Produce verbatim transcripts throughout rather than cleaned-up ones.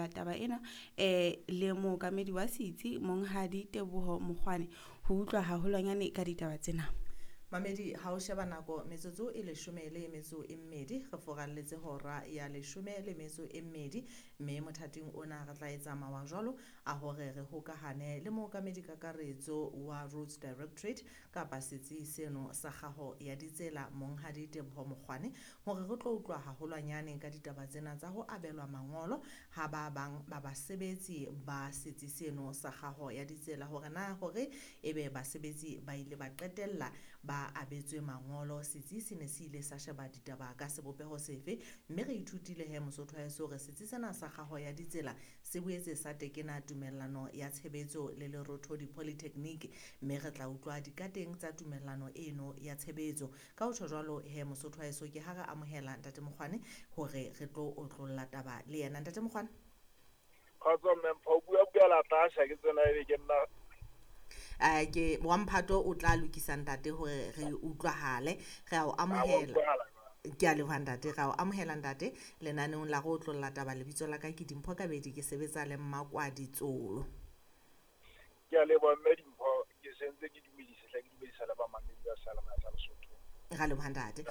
Otlolla Taba ena eh le mookamedi wa setsi Monghadi Teboho Mokgwane ho utlwa haholwanyane ka ditaba tsena. Mamedi, ha o sheba nako metsotso e leshome le metso e mmedi, re foralletse hora ya leshome le metso e mmedi, mme mothating ona re tla etsa mawa jwalo a hore re hokahane le mookamedi kakaretso wa Roads Directorate kapa setsi seno sa kgaho ya ditsela Monghadi Teboho Mokgwane hore re tlo utlwa haholwanyane ka ditaba tsena tsa ho abelwa mangolo ha ba bang ba basebetsi ba setsi seno sa kgaho ya ditsela, hore na hore ebe basebetsi ba ile ba qetella ba abetswe mangolo, setsi se ne se ile sa sheba ditaba ka sebopeho sefe. Mme re ithutile he Mosotho wa heso hore setsi sena sa kgaho ya ditsela se boetse sa tekena tumellano ya tshebetso le Lerothodi Polytechnic, mme re tla utlwa dikateng tsa tumellano eno ya tshebetso. Ka ho tjho jwalo he Mosotho wa heso, ke ha re amohela Ntate Mokgwane hore re tlo otlolla taba le yena. Ntate Mokgwane. Kgotso mme Mpho, o bua bua la tlasha ke tsena ebe ke nna Uh, ke wa mphato o tla lokisa ntate hore re utlwahale. Re a o amohela, ke a leboha ntate, re a o amohela ntate lenaneong la go otlolla taba. Lebitso la ka ke Dimpho Kabedi, ke sebetsa le Mmakwadi Tsolo. Ke a leboha mme Dimpho, ke sentse ke dumedise hle, ke dumedisa le bamamedi ba Seyalemoya sa Lesotho. Ra leboha ntate.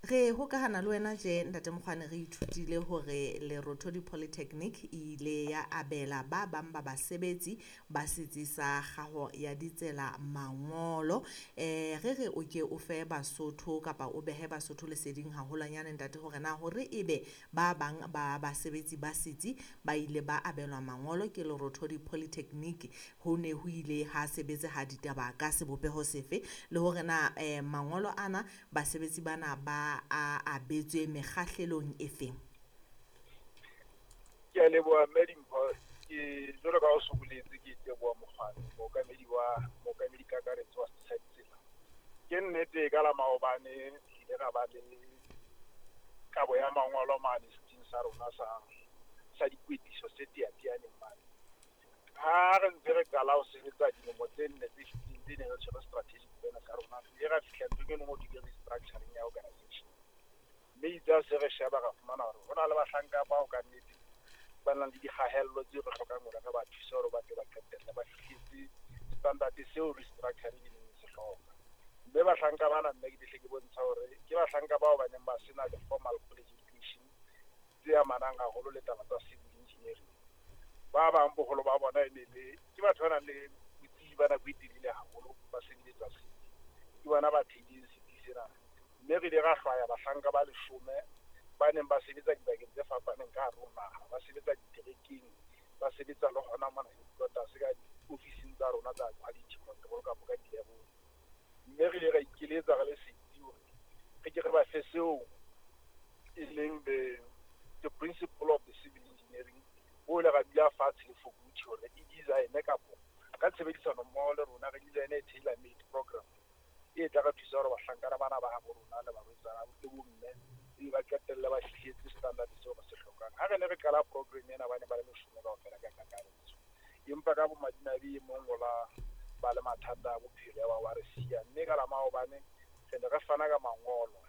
Re hokahana le wena tje Ntate Mokgwane, re ithutile hore Lerothodi Polytechnic e ile ya abela ba bang ba basebetsi ba setsi sa kgaho ya ditsela mangolo. Eh re re o ke o fe Basotho kapa o behe Basotho leseding haholwanyane ntate hore na hore ebe ba bang ba basebetsi ba setsi ba ile ba abelwa mangolo ke Lerothodi Polytechnic, ho ne ho ile ha sebetseha ditaba ka sebopeho sefe, le hore na eh, mangolo ana basebetsi bana ba a abetswe mekgahlelong efeng? Ke a leboha mme Dimpho, ke jwalo ka o so boletse, ke Teboho Mokgwane, mookamedi wa mookamedi kakaretso wa setsi sa ditsela. Ke nnete ka la maobane re ile ra ba le kabo ya mangolo mane setsing sa rona sa sa dikwetliso se teateaneng mane. Ha re ntse re qala ho sebetsa dilemo tse nne tse fetileng tse neng re tshwere strategic plan sa rona, re ile ra fihla nthong e nngwe ho thwe ke restructuring ya organization. Mme itse ha se re sheba ra fumana hore ho na le bahlanka bao ka nnete ba nang le dikgahello tseo re hlokang hore re ba thuse hore ba tle ba qetelle ba fihletse standard seo restructuring e neng e se hloka. Mme bahlanka bana nna ke hle ke bontsha hore ke bahlanka bao ba neng ba sena the formal college education tse amanang haholo le taba tsa civil engineering. Ba bang boholo ba bona e ne le ke batho ba nang le botsebi ba nako e telele haholo ba sebeletsa setsi, ke bona ba theileng setsi sena. Mme re ile ra hlwaya bahlanka ba leshome ba neng ba sebetsa dibakeng tse fapaneng ka hare ho naha, ba sebetsa diterekeng, ba sebetsa le hona mona headquarters ka diofising tsa rona tsa quality control kapa ka di-level. Mme re ile ra ikeletsa re le setsi hore re ke re ba fe seo e leng the the principle of the civil engineering, o ile ra dula fatshe le Fokuthi hore e design kapo ka tshebedisano mmoho le rona re design e tailor made program e tla re thusa hore bahlankana bana ba habo rona le barwetsana le bomme e ba qetelle ba fihletse standard seo re se hlokang. Ha re ne re qala program ena ba ne ba le leshome kaofela ka kakaretso, empa ka bomadimabe e mong o la ba le mathata a bophelo ya ba wa re siya. Mme ka la maobane re ne re fana ka mangolo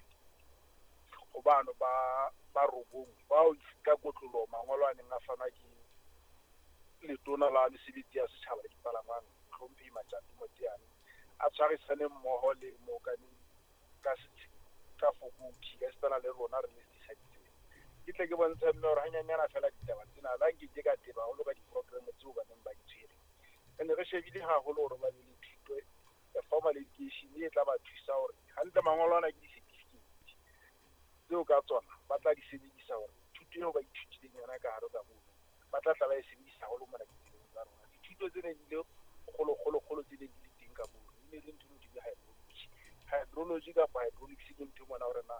ho bano ba ba robong bao ka kotloloho mangolo a neng a fanwa ke letona la mesebetsi ya setjhaba le dipalangwang Hlomphehi Matjato Moteane, a tshwarisane mmoho le mookamedi ka ka Fokuthi ka esitana le rona re le setsi sa ditsela. Ke tle ke bontshe mme hore hanyanyana feela ditaba tsena la nke ke ka teba haholo ka di-program tseo ba neng ba di tshwere. Re ne re shebile haholo hore ba be le thuto ya formal education e tla ba thusa hore hantle mangolo ana ke di-certificate tseo ka tsona ba tla di sebedisa hore thuto eo ba ithutileng yona ka hare ka mono ba tla tla ba e sebedisa haholo mona ditseleng tsa rona. Dithuto tse neng di le kgolo kgolo kgolo tse neng di le teng ka mono e ne le ntho e thwe ke hydrology. Hydrology kapa hydraulics ke ntho mona hore na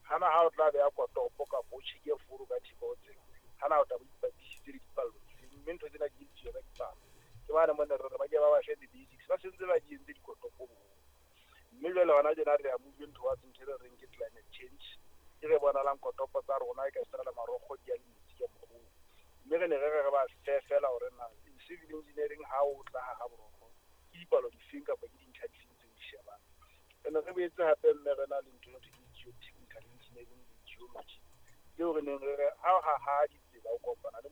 hana ha o tla beha kotopo kapa o tjheke foro ka thipa o tsela, hana o tla bo ipapisitse le dipallo dife, mme ntho tsena di etsuwa ka dipalo. Ke bane mona re re ba ke ba ba fe the basics, ba sentse ba di entse dikotopo boholo. Mme jwale hona tjena re ya moving towards ntho e re reng ke climate change, e re bonalang kotopo tsa rona e ka esitana le marokgo di ya le metsi ka mokgwa. Mme re ne re re re ba fe fela hore na in civil engineering ha o tla ha borokgo ke dipalo difeng kapa ke dintlha difeng tseo di shebang. Re ne re boetse hape mme re na le ntho e thwe ke geotechnical engineering le geology tseo re neng re re ha o haha ditsela o kopana le